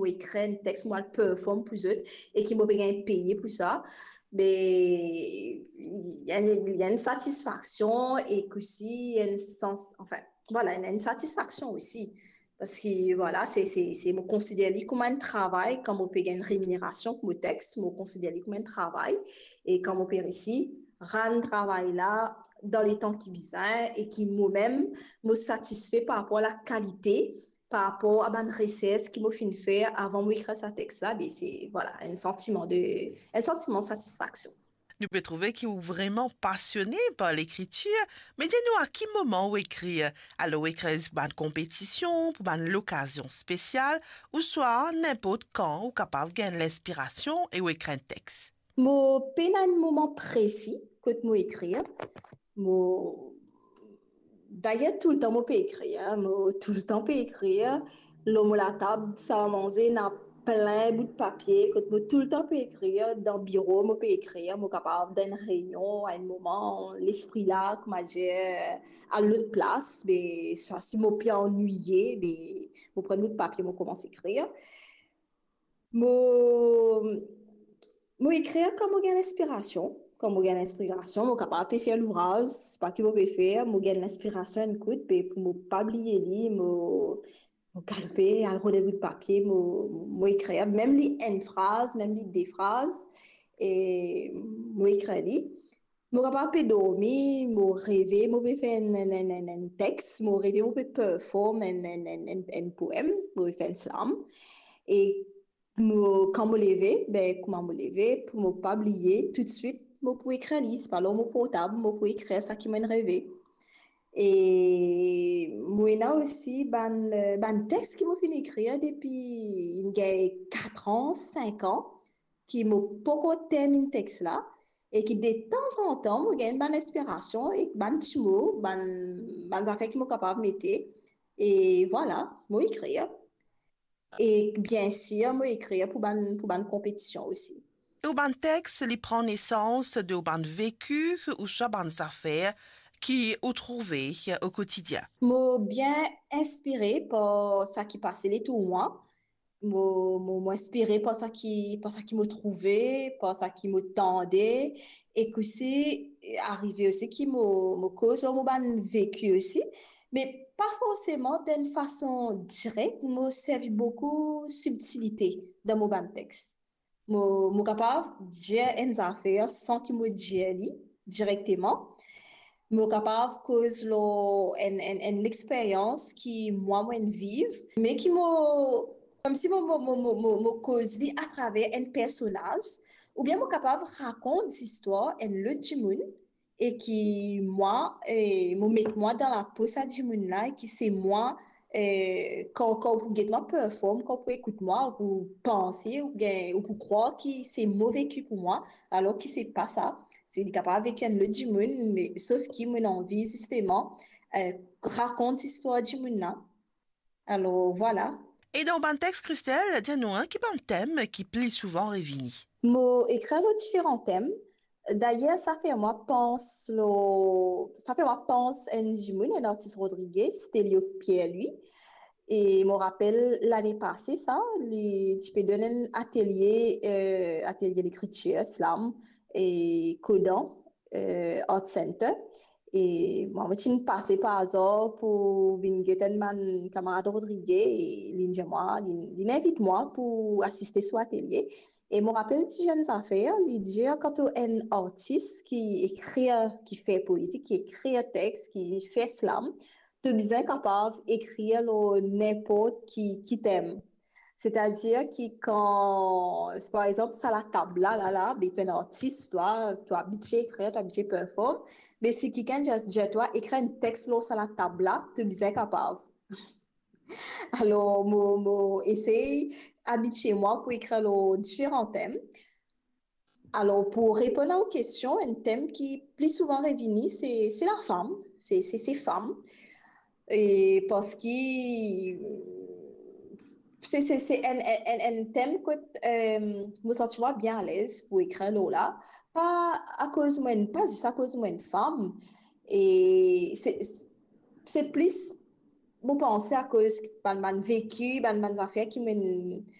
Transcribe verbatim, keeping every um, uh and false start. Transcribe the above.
ekrir enn text, mo al perform pou zot e ki mo pe gagn peye pou sa, be, il y a une, il y a une satisfaction et aussi une sens, enfin, voilà, il y a une satisfaction aussi. Parski, vwala, se, se, se, mo konsider li kouma enn travay, kan mo pe gagn reminerasion pou mo text, mo konsider li kouma enn travay, e kan mo pe reisi rann travay la dan letan ki bizin, e ki mo mem, mo satisfe par rapor lakalite, par rapor a bann resers ki mo finn fer avan mo ekrir sa text la, be se, vwala, enn santiman de, enn santiman satisfaksion. Nou pe trouve ki ou vreman pasione par lekritir, me dir nou a ki moman ou ekrir? Alor ou ekrir pou bann konpetision, pou bann lokazion spesial, ouswa ninport kan ou kapav gagn linspirasion e ou ekrir enn text? Mo pena enn moman presi kot mo ekrir. Mo, dayer toultan mo pe ekrir, mo toultan pe ekrir. Lor mo latab, salmanze ena plin bout papie, kot mo toultan pe ekrir. Dan biro mo pe ekrir, mo kapav dan enn reynion, a enn moman, lespri la, kouma dir, a lot plas, be, swa si mo pe anwiye, be, mo pran bout papie, mo koumans ekrir. Mo, mo ekrir kan mo gagn linspirasion. Kan mo gagn linspirasion, mo kapav pe fer louvraz, pa ki mo pe fer, mo gagn linspirasion enn kout, be pou mo pa bliye li, mo, mo galope, al rod enn bout papie, mo, mo ekrir, mem li enn fraz, mem li de fraz, e mo ekrir li. Mo kapav pe dormi, mo reve, mo pe fer enn, enn, enn, enn, enn text, mo reve, mo pe perform enn, enn, enn, enn, enn poem, mo pe fer enn slam. E mo, kan mo leve, be, kouma mo leve, pou mo pa bliye, toutswit, mo pou ekrir li, se pa lor mo portab, mo pou ekrir sa ki mo'nn reve. E mo ena osi bann, bann text ki mo finn ekrir depi inn gagn kat an, sink an, ki mo poko terminn text la, e ki de tanzantan mo gagn bann inspirasion ek bann ti mo, bann, bann zafer ki mo kapav mete, e vwala, mo ekrir. E biensir, mo ekrir pou bann, pou bann konpetision osi. E ou bann text, li pran nesans de ou bann veki ouswa bann zafer ki ou trouve o kotidien? Mo bien inspire par sa ki pase letour mwa. Mo, mo, mo inspire par sa ki, par sa ki mo trouve, par sa ki mo tande, ek osi, arive osi ki mo, mo koz lor mo bann veki osi, me pa forseman dan enn fason direk, mo servi boukou sibtilite dan mo bann text. Mo, mo kapav dir enn zafer san ki mo dir li direkteman. Mo kapav koz lor enn, enn, enn lexperyans ki mwa, mo'nn viv, me ki mo, koumsi mo, mo, mo, mo, mo, mo koz li atraver enn personaz, oubien mo kapav rakont zistwar enn lot dimoun, e ki mwa, e mo met mwa dan lapo sa dimoun la, e ki se mwa, e, kan, kan ou pou get mwa perform, kan ou pou ekout mwa, ou pou panse, oubien ou pou krwar ki se mo veki pou mwa, alor ki se pa sa. Se, li kapav veki enn lot dimoun, me sof ki mo'nn anvi zisteman, e, rakont zistwar dimoun la. Alor, vwala. E dan bann text, Christelle, dir nou, en, ki bann tem ki pli souvan revini? Mo ekrir lor diferan tem. Dayer, sa fer mwa pans lor, sa fer mwa pans enn dimoun, enn artis Rodriguez, Stelio Pierre-Louis. E mo rapel lane pase sa, li ti pe donn enn atelie, e, atelie lekritir, slam, e Kodan, e, Art Center. E mwa, mo ti pase par azar pou vinn get enn bann kamarad Rodriguez, e li dir mwa, li, li invit mwa pou asiste so atelie. E mo rapel ti enn zafer, li dir, kan to enn artis ki ekrir, ki fer poezi, ki ekrir text, ki fer slam, to bizin kapav ekrir lor ninport ki, ki tem. Setadir ki kan, par exanp, sa latab la, la, la, be to enn artis, twa, to abitie ekrir, to abitie perform, be si kikenn dir, dir twa ekrir enn text lor sa latab la, to bizin kapav. Alor, mo, mo esey abitie mwa pou ekrir lor diferan tem. Alor, pou reponn a ou kestion, enn tem ki pli souvan revini, se, se lafam, se, se, se fam. E parski se, se, se enn, enn, enn, enn tem kot, e, mo santi mwa bien alez pou ekrir lor la. Pa akoz mo'nn, pa zis akoz mo'nn fam. E se, se plis, mo panse, akoz bann, bann veki, bann, bann zafer ki mo'nn,